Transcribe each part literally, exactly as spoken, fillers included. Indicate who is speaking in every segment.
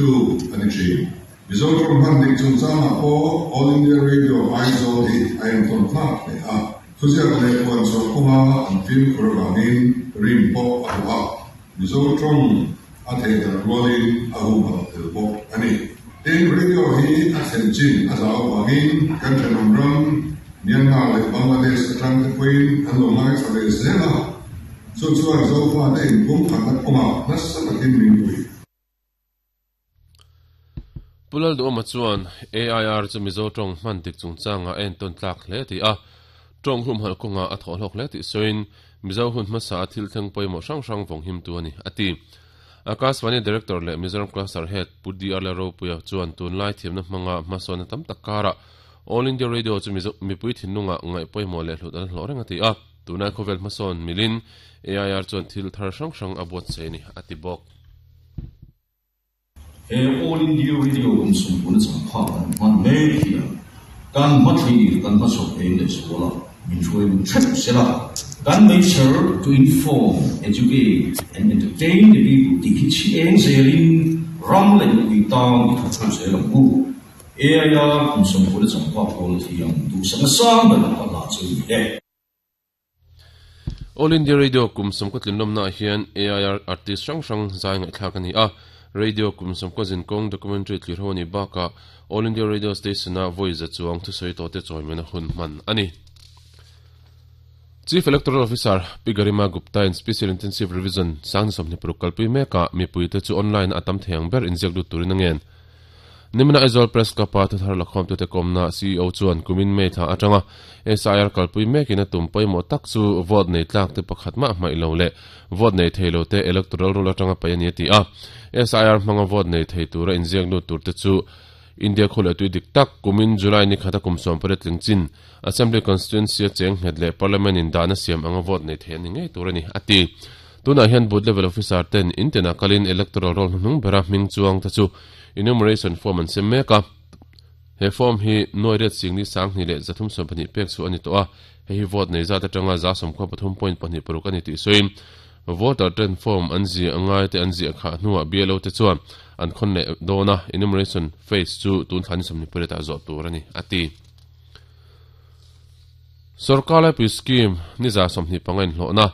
Speaker 1: tu a ni thin. Mizo tawng hman dik chungchangah pawh All India Radio Aizawl hi a entawn tlak hle a, thuziak leh puanchhuah kawnga an fimkhur avangin rin pawh a hlawh a, Mizo tawng a thehdarh rualin a humhalh tel bawk a ni. Tin, radio hi a thlen chin a zau avangin kan thenawm ram Myanmar leh Bangladesh atang te pawhin an lo ngaithla ve zel a, chu chuan Zofate inpumkhatna kawngah nasa takin min pui.
Speaker 2: Pu Lalduhawma chuan A I R chu Mizo tawng hman dik chungchangah a entawn tlak hle tih a, tawng humhalh kawngah a thawh hlawk hle tih sawiin Mizo hun hmasa a thil thleng pawimawh hrang hrang vawng him tu a ni, a ti. Akashvani Director leh Mizoram Cluster Head Pu D R Lalropuia chuan tunlai thiamna hmanga hmasawnna tam tak karah All India Radio chu Mizo mipui thinlungah ngaih pawimawh leh hlut an hlawh reng a ti a, tunlai khawvel hmasawn milin A I R chuan thil thar hrang hrang a buatsaih a ni, a ti bawk.
Speaker 3: He All India Radio kum sawmpuna changphak kan hman mek hian kan hmathlir kan hmachhawp eng leh zual a, min hruai lung hrep sela, kan meichher to inform, educate and entertain the people tih hi chhi eng zelin ram leh mipui tan i thawk ho zel ang u. A I R kum sawmpuna changphak pawl thiam duhsakna sang ber ka hlah chu ni e.
Speaker 2: All India Radio kum sawmkaw tlinlawmnaah hian A I R artist hrang hrang zai ngaihthlak a ni a. Radio kum sawmkaw zinkawng documentary tlir ho a nih bakah All India Radio Station-a vawi za chuang thusawi tawhte chawimena hun hman a ni. Chief Electoral Officer Pi Garima Gupta in Special Intensive Revision sangni sawmhnih paruk kalpui mekah mipuite chu online a tam thei ang ber inziak lut turin a ngen. Nimina Aizawl Press Club-a thuthar lakhawmtute kawmna C E O chuan kumin May thla atanga S I R kalpui mekin a tum pawimawh tak chu vote nei tlak te pakhat mah hmaih lo leh vote nei thei lo te electoral roll atanga paih a ni a ti a. S I R hmanga vote nei thei tura inziak lut tur te chu India khaw leh tui dik tak kumin July ni khata kum sawm pariat tling chin Assembly Constituency a cheng nghet leh Parliament in dahna siam anga vote nei thei a ni ngei tur a ni a ti. Tunah hian booth level officer ten intinah kalin electoral roll hnuhnung bera hming chuang te chu enumeration form an sem mek a. He form hi nuai riat singni sanghnih leh zathum sawm pahnih pek chu a ni tawh a, hei hi vote nei zat atanga za sawmkhua pathum point pahnih paruk a ni tih sawiin voter ten form an ziah ngai te an ziah khah hnuah B L O te chuan an khawn leh dawn a, enumeration phase chu tun thla ni sawmhnih pariatah zawh tur a ni a ti. Sorkar laipui scheme ni za sawmhnih panga inhlawhna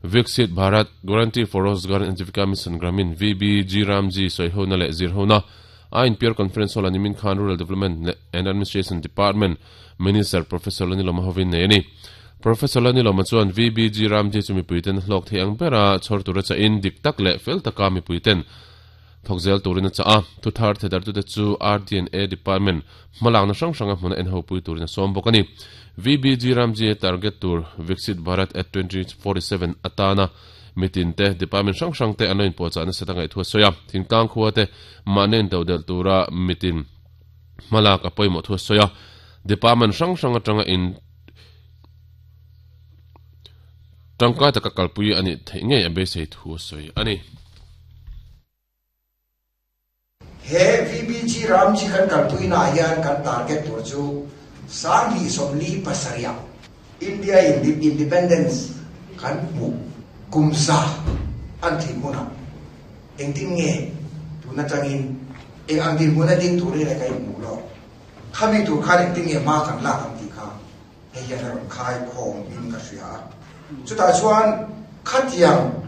Speaker 2: Viksit Bharat Guarantee for Rozgar and Ajeevika Mission Gramin, V B G Ramji sawihona leh zirhona a inpiar conference hall a nimin khan Rural Development and Administration Department Minister Professor Lanilawma hovin nei a ni. Professor Lanilawma chuan V B G Ramji chu mipuiten hlawk thei ang bera chhawr tura chahin dik tak leh fel taka mipuiten thawk zel turin a chah a. Thuthar thedartute chu R D and A Department hmalakna hrang hranga hmuna en ho pui turin a sawm bawk a ni. V B G Ramji target tur Viksit Bharat at twenty forty seven atana mitin te department hrang hrang te an lo inpuahchah nasa ta ngaih thu a sawi a. Thingtlang khua te mahni intoh delh tura mitin hmalak a pawimawh thu a sawi a. Department hrang hrang atanga in tangkai taka kalpui a nih theih ngei a beisei thu a sawi a ni.
Speaker 4: He V B G Ramji kan kalpuinaah hian kan target tur chu sanghnih sawmli pasarih India independence kan hmuh kum za an thin hmunah engtin nge tun atangin eng ang dinhmun a ding turin le ka inhmuh lo. Khami tur khan engtin nge hma kan lak ang tih kha hei hian a rawn khai khawm in ka hria a. Chutah chuan khatiang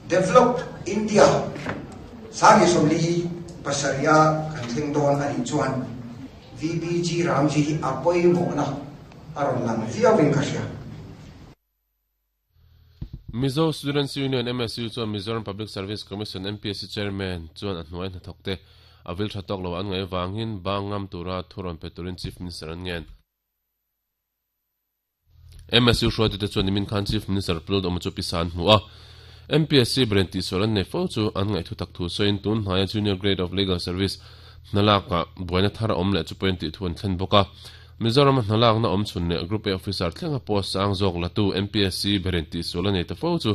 Speaker 4: developed India sanghnih sawmli pasarih kan thleng dawn a nih chuan V B G Ramji hi a pawimawhna a rawn lang viau in ka hria.
Speaker 2: Mizo Students Union M S U chuan Mizoram Public Service Commission M P S C Chairman chuan a hnuai hnathawk te a vil tha tawk lo an ngaih avangin bang ngam tura thu rawn pe turin Chief Minister an ngen. M S U hruaitute chuan nimin khan Chief Minister Pu Lalduhawma chu pisa an hmu a. M P S C brain tihsual an nei fo chu an ngaih thu tak thu sawiin tun hnaia Junior Grade of Legal Service hnalakah buaina thar a awm leh chu pawhin tih thu an thlen bawk a. Mizoram a hnalakna awm chhun leh Group A officer thlenga post sang zawk latu M P S C berin tihsual a nei ta fo chu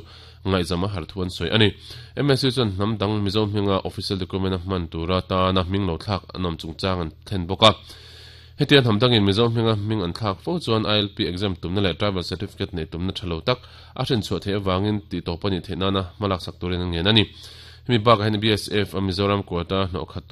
Speaker 2: ngaihzam a har thu an sawi a ni. M S C chuan hnam dang Mizo hminga official document a hman tura tana hming lo thlak an awm chungchang an thlen bawk a. Hetiang hnam dangin Mizo hminga hming an thlak fo chuan I L P exam tumna leh tribal certificate nei tumna tha lo tak a hrinchhuah theih avangin tih tawp a nih theih nana hmalak sak turin an ngen a ni. Hemi bakah hian B S F a Mizoram quota hnawh khat